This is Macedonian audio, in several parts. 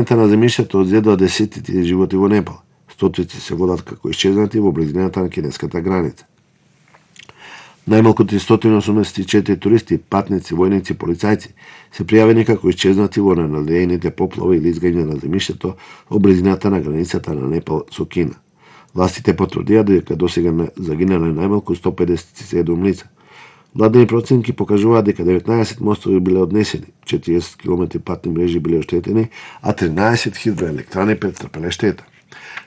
на земјиштето одзедува десетици животи во Непал. Стотици се водат како исчезнати во близината на кинеската граница. Најмалку 384 туристи, патници, војници, полицајци се пријавени како исчезнати во ненадејните поплави или изгање на земјиштето во близината на границата на Непал со Кина. Властите потврдија дека досега загинале најмалку 157 лица. Владени проценки покажуваат дека 19 мостови биле однесени, 40 км патни мрежи биле оштетени, а 13 хидроелектрани претрпеле штета.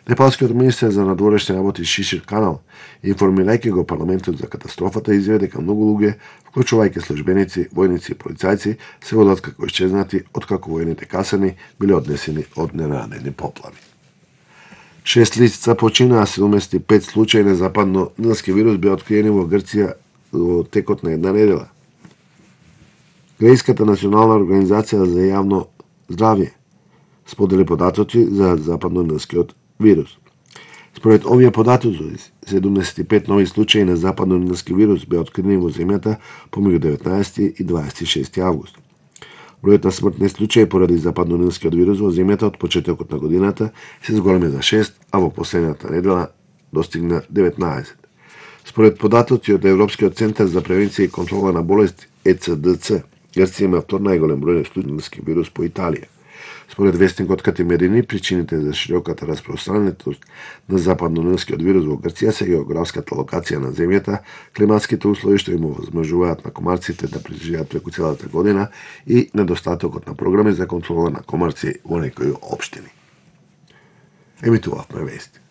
Непалскиот министер за надворешни работи Шишир Канал, информирајќи го парламентот за катастрофата, изјави дека многу луѓе, вклучувајќи службеници, војници и полицајци, се водат како исчезнати откако војните касарни биле однесени од ненадени поплави. 6 лица починаа, 75 случаи на западно-нилски вирус беа откриени во Грција во текот на една недела. Грејската национална организација за јавно здравје сподели податоци за западно-нилскиот вирус. Според овие податоци, 75 нови случаи на западно-нилски вирус беа открити во земјата помеѓу 19 и 26 август. Бројот на смртни случаи поради западно-нилскиот вирус во земјата од почетокот на годината се зголеми за 6, а во последната недела достигна 19. Според податоци од Европскиот центар за превенција и контрола на болести ЕЦДЦ, Грција има втор најголем број на случаи на нилски вирус по Италија. Според вестникот Катимерини, причините за широката распространетост на западно-нилскиот вирус во Грција се географската локација на земјата, климатските услови што им овозможуваат на комарците да преживеат преку целата година и недостатокот на програми за контрола на комарци во некои општини. Емитувавме вести.